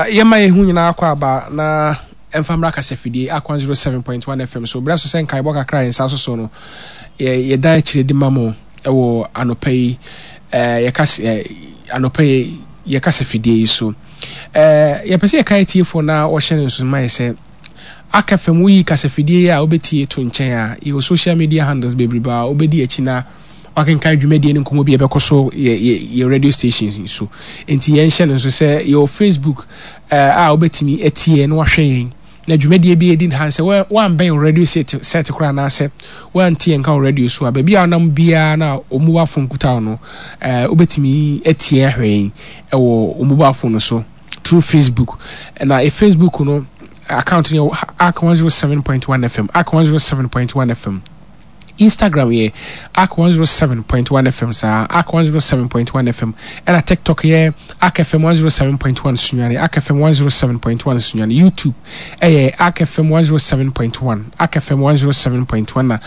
Yɛma yɛn ho nyinaa kɔ aba na ɛmfa mmra kasafidie Ark 107.1 FM so. Berɛ so sɛ nkaebɔ kakra a yɛn nsa soso no, yɛdan akyire de ma mo wɔ anɔpa yi, yɛka anɔpa yi yɛ kasafidie yi so. Yɛpɛ sɛ yɛka atiefoɔ na wɔhyɛ no nso ma yɛ sɛ Ark FM woyi kasafidie yi a wobɛtie to nkyɛn a, yɛwɔ social media handles bebrebe a wobɛdi akyi na wakenkan dwumadie ne nkɔmmɔ bi a ɛbɛkɔ so yɛ yɛ yɛ radio stations yi so. Nti yɛnhyɛ no nso sɛ yɛwɔ Facebook eh, a wobɛtumi atie na wahwɛ yɛn. Na dwumadie bi ɛdi ha sɛ woambɛn radio set set koraa anaasɛ woante yɛn nka wɔ radio so a, baabi a wonam biara na wo mobile phone kuta wo no, eh, wobɛtumi atie ahwɛ yɛn wɔ wo mobile phone no so through Facebook. Na e Facebook no account no yɛ Ark 107.1 FM, Ark 107.1 FM. Instagram yɛ Ark 107.1 FM saa, Ark 107.1 FM, ɛna TikTok yɛ Ark FM 107.1 Sunyani, Ark FM 107.1 Sunyani, YouTube ɛyɛ Ark FM 107.1, Ark FM 107.1 na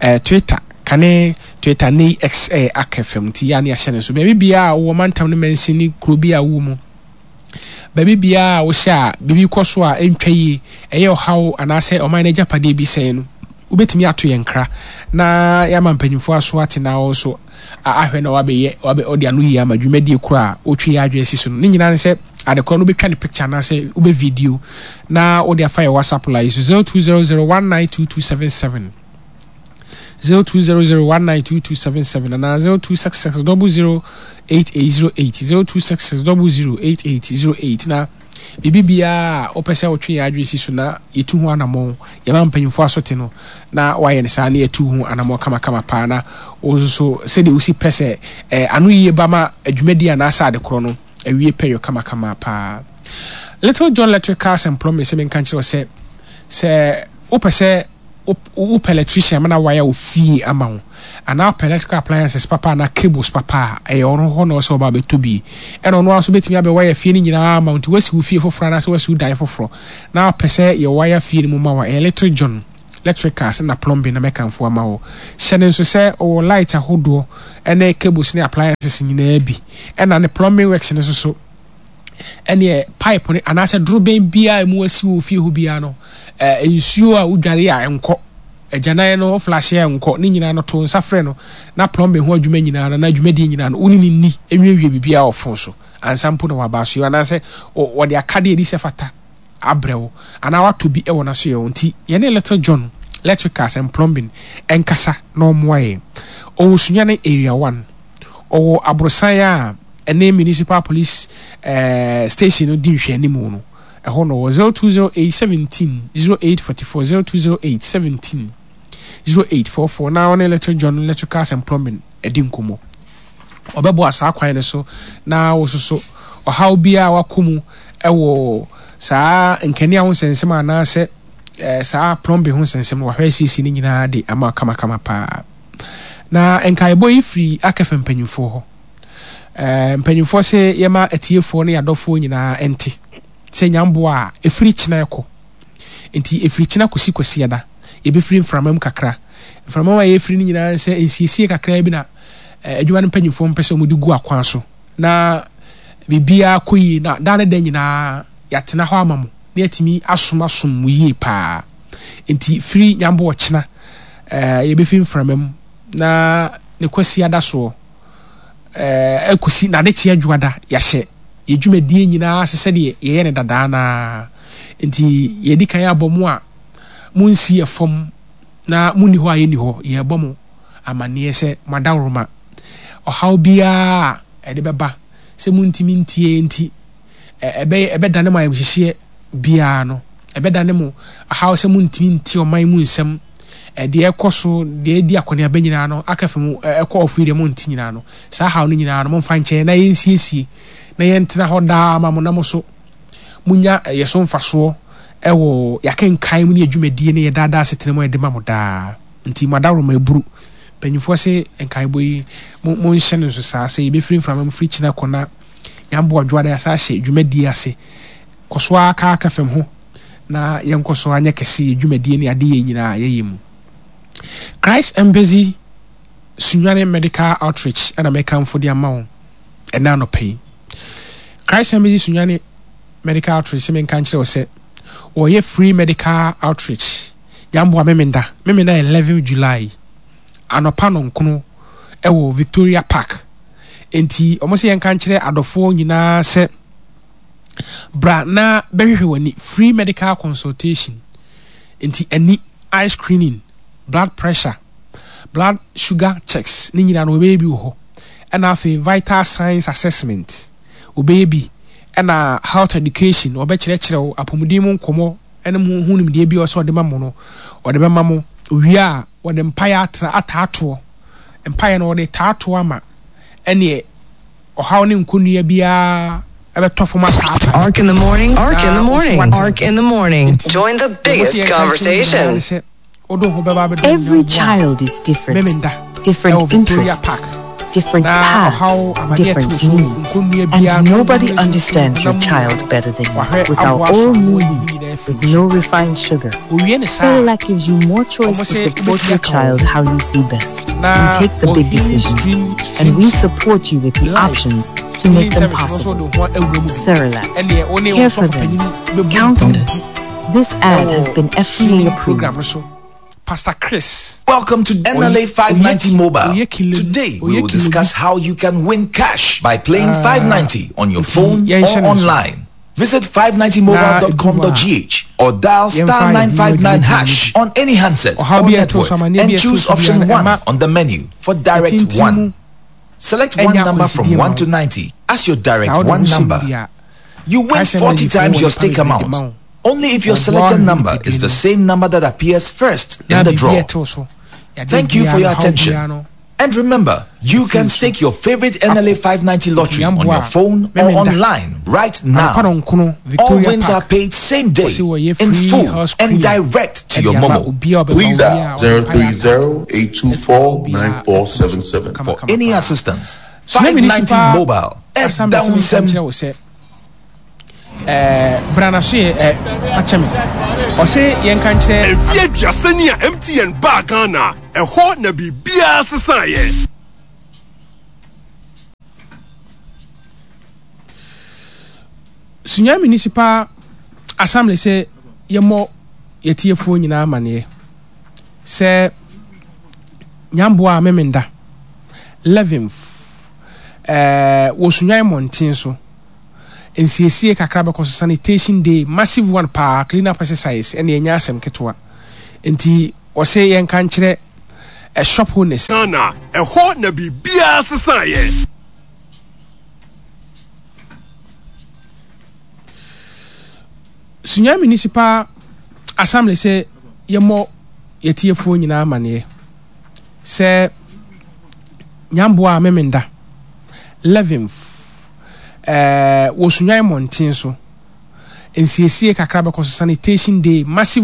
eh, Twitter kane Twitter ne X ɛyɛ Ark FM nti yɛ a ne yɛahyɛ no nso baabi biara a wowɔ mantam no mansin ne kuro bi a wowɔ mu. Baabi biara a wohyɛ a biribi kɔ so a ɛntwa yie, ɛyɛ ɔhaw anaasɛ ɔman no agyapadeɛ bi sɛe no, wobɛtumi ato yɛn nkra na yɛama mpanimfoɔ aso ate na wɔn nso ahwɛ na wɔabɛyɛ wɔabɛ wɔde ano yie ama dwumadie korɔ a wotwe yɛn adwene si so no. Ne nyinaa ne sɛ ade korɔ no wobɛtwa ne picture anaasɛ wobɛ video na wode afa yɛn WhatsApp line yi so 0200 192277. 0200192277 anaa 0266008808 0266008808 na biribi biara a wopɛ sɛ wotwe yɛn adwene si so na yɛtu ho anammɔn, yɛma mpanyimfoɔ asote no na woayɛ no saa na yɛatu ho anammɔn kamakama paa na wo nso so sɛdeɛ wosi pɛ sɛ eh, ano yie ba ma adwumadie anaasɛ adekorɔ no awie pɛyɔ kamakama paa. Little John Electric Cars and Plumbing sɛ menka nkyerɛ wo sɛ sɛ wopɛ sɛ Wopɛ electrician ma no awire wo fie ama wo anaa wopɛ electrical appliances papa anaa cables papa a, ɛyɛ ɔno hɔ na ɔsɛ ɔba abɛtɔ bi. Ɛna ɔno ara nso bɛtumi abɛ wire fie no nyinaa ama wo. Nti woasi wo fie foforɔ anaasɛ woasi wo dan foforɔ na wopɛ sɛ yɛ wire fie no mu ma wo a, ɛyɛ Little John Electricals na Plumbing na mɛkamfo ama wo. Hyɛ no nso sɛ ɔwɔ light ahodoɔ ne cables ne appliances nyinaa bi. Ɛna ne plumbing works no nso so. Ɛneɛ pipe no anaasɛ dorobɛn biara a ɛmu asi wɔ fie hɔ biara no, eh, nsuo a wodware a ɛnkɔ, agyanan no woflashe a ɛnkɔ, ne nyinaa no to nsa frɛ no na plumbing ho adwuma nyinaa no anaa dwumadie nyinaa no wo ne no nni nwiewie biribiara wɔ phone so ansa mpo na waba asoɛ anaasɛ wɔde akadeɛ ɛdi sɛ fata abrɛ wo anaa watɔ bi wɔ n'asoɛ hɔ. Nti yɛne Little John Electricals and Plumbing nkasa na ɔmmoa yɛn. Ɔwɔ Sunyani Area One. Ɔwɔ aborosan a ɛne Municipal Police eh, Station no di nhwɛanimu no, ɛhɔ no wɔ 0208 17 0844, 0208 17 0844 na ɔne Little John Electricals and Plumbing adi nkɔmmɔ. Ɔbɛboa saa kwan no so na wososo ɔhaw biara a wakɔ mu wɔ saa nkanea ho nsɛnsɛm anaasɛ eh, saa plumbing ho nsɛnsɛm no wahwɛ asiesie no nyinaa de ama kamakama paa. Na nkaebɔ yi firi Akɛfɛ mpanyimfoɔ hɔ. Ɛɛ, mpanyimfoɔ se yɛma atiefoɔ ne adɔfoɔ nyinaa nte sɛ nyamboa a ɛfiri kyena kɔ. Enti ɛfiri kyena kɔsi Kwasiada, yɛbɛfiri mframa mu kakra. Mframa mu a yɛfiri no nyinaa ne sɛ nsiesie kakra bi na adwuma no mpanyimfoɔ mpɛ sɛ wɔde gu akwan so na biribiara kɔ yie na daa ne da nyinaa yɛatena hɔ ama mo na yɛatumi asom asom mo yie paa. Enti firi nyamboa kyena, ɛɛ, yɛbɛfiri mframa mu na ne Kwasiada soɔ. Ɛɛ, kɔsi n'adekyeɛ dwoada, yɛahyɛ yɛn dwumadie nyinaa ase sɛdeɛ yɛyɛ no dadaa no ara. Enti yɛadi kan abɔ mo a monsi yɛn fam na monni hɔ a yɛnni hɔ, yɛrebɔ mo amanneɛ sɛ mo adaworoma, ɔhaw biara a ɛde bɛba sɛ montumi ntie nti, ɛbɛyɛ, ɛbɛdane mo ayamhyehyeɛ biara no, ɛbɛdane mo haw sɛ montumi nte ɔman mu nsɛm, deɛ ɛkɔ so, deɛ ɛdi akɔneaba nyinaa no, aka fa mu, ɛkɔ ɔfo yi deɛ monte nyinaa no, saa haw no nyinaa no, momfa nkyɛ yɛn na yɛnsiesie, na yɛntena hɔ daa ma mo, na mo so monya yɛ so mfasoɔ wɔ yɛakenkan mu ne yɛ dwumadie ne yɛ daadaa asetena mu a yɛde ma mo daa. Nti mo adaworoma aburu. Mpanyinfoɔ se nkaebɔ yi, mo, monhyɛ no nso saa, sɛ yɛbɛfiri mframa mu firi kyena kɔ na Nyamboa Dwoada yɛasan ahyɛ dwumadie ase. Kɔ so ara ka aka fam ho na yɛnkɔ so ara nyɛ kɛse yɛ dwumadie ne adeyɛ nyinaa a yɛyɛ mu. Christ Embassy Sunyani Medical Outreach na mekamfo de ama wo ɛnɛ anɔpa yi. Christ Embassy Sunyani. Medical Outreach sɛ menka nkyerɛ wo sɛ wɔyɛ free medical outreach Nyamboa Memenda, Memenda 11 July anɔpa nɔnkono wɔ Victoria Park. Enti wɔn sɛ yɛnka nkyerɛ adɔfoɔ nyinaa sɛ bra na bɛhwehwɛ w'ani, free medical consultation. Enti ani, eye screening, blood pressure, blood sugar checks ne nyinaa no wɔbɛyɛ bi wɔ hɔ. Ɛna afei vital signs assessment wɔbɛyɛ bi. Ɛna health education wɔbɛkyerɛkyerɛ wo apɔmuden mu nkɔmmɔ ne mo ho nimdeɛ bi a ɔsɛ ɔde ma mo no wɔde bɛma mo. Owie a wɔde mpaeɛ atra ataatoɔ. Mpaeɛ no wɔde taatoɔ ama ɛneɛ ɔhaw ne nkɔnnua biara ɛbɛtɔ fam ataataa. Ark in the morning, Ark in the Na wo nso morning, woate Ark in the morning. Enti Join the deɛ wɔse biggest yɛnka nkyerɛ wo nyinaa ne conversation. sɛ wode wo ho bɛba abɛdom Every Nyame boa child is different, Memenda different ɛwɔ Victoria interests, Park different na ɔhaw paths, amaneɛ te wo different so needs. nkɔnnua And biara no nobody honam ne sunsum understands your honam mu child better than you. wahwɛ With our aboa so all ama new wayi ne wheat nyinaa afiri with wo so. no refined sugar, Owie ne saa a, Cerelac gives you more choice wɔn to se support wobɛtumi your aka wɔn child ho how you see best. We na take the wɔ big Healing decisions Stream and we Streams support you with the Live options to Healing make them Service no nso possible. wode wo ho awura mu bi. Cerelac. Ɛnneɛ wo ne wo Care for sɔfo them. panyini bɛbɔ Count on mpampu us. This ad has ɛwɔ been FDA healing program approved. no so. Pastor Chris, Welcome to oye NLA oye 590 Mobile. oye kilem Today we oye will kilebu. discuss how you can win cash by playing Ah, 590 on your nti phone or yɛnhyɛ ne nso online. Visit na edu hɔ a 590mobile.com.gh or dial yɛmfa star yɛn ho adwuma 959 adwuma no hash bi. on any handset Ɔhaw or bi a ɛto so, network amanneɛ bi and a ɛto choose so biara option no, 1 ɛma on the menu for direct ɛtintim 1. mu Select one ɛnyɛ number from akwansideɛ ma 1 wo. to 90 as your Na direct wode wo 1 ho hyɛ mu number. bi a, You win Christ 40 Embassy foɔ times wɔ your nnipa stake bebree de ma amount wo. only if your Wɔboa selected wo number nipadua is no the mu. same number that appears first Na in the biribi a draw. ɛtew so, yadeɛ Thank you biara for no, your haw attention. biara no, And remember, you ɛfiri can wo so stake your favorite NLA akɔ. 590 Nti lottery on yɛmboa your a, phone or Memenda, online right anɔpa now. nɔnkono, All Victoria wins are Park, paid same wɔse day, wɔyɛ in free full, health and screening direct to ɛde your ama Momo. obiara a ɔbɛba, Please obiara dial a ɔde mpaeɛ ataatoɔ atu ɔhaw 030-824-9477. biara afiri wo so For kamakama any paa. assistance, Sua 590 Municipal Mobile, Assembly sɛ menka Ɛdawnsɛm. nkyerɛ wo sɛ, ɛɛ, bra na so yɛ, ɛ, fa kyɛ me. Ɔse yɛnka nkyerɛ. Mfeɛ aduasa ni a MTN baa Ghana, ɛhɔ na biribiara sesaeɛ. Sunyani Municipal Assembly sɛ yɛmmɔ yɛtiefoɔ nyinaa amaneɛ sɛ Nyamboa Memenda 11th ɛɛ wɔ Sunyani mmɔnten so nsiesie kakra bɛkɔ so sanitation day massive one paa clean up exercise ɛne ɛnyɛ asɛm ketewa nti wɔse yɛnka nkyerɛ ɛ shop owners. Ghana, ɛhɔ na biribiara sesaeɛ. Sunyani Municipal Assembly sɛ yɛmmɔ yɛtiefoɔ nyinaa amaneɛ sɛ Nyamboa Memenda 11th ɛɛ wɔ Sunyani mmɔnten so nsiesie kakra bɛkɔ so sanitation day massive.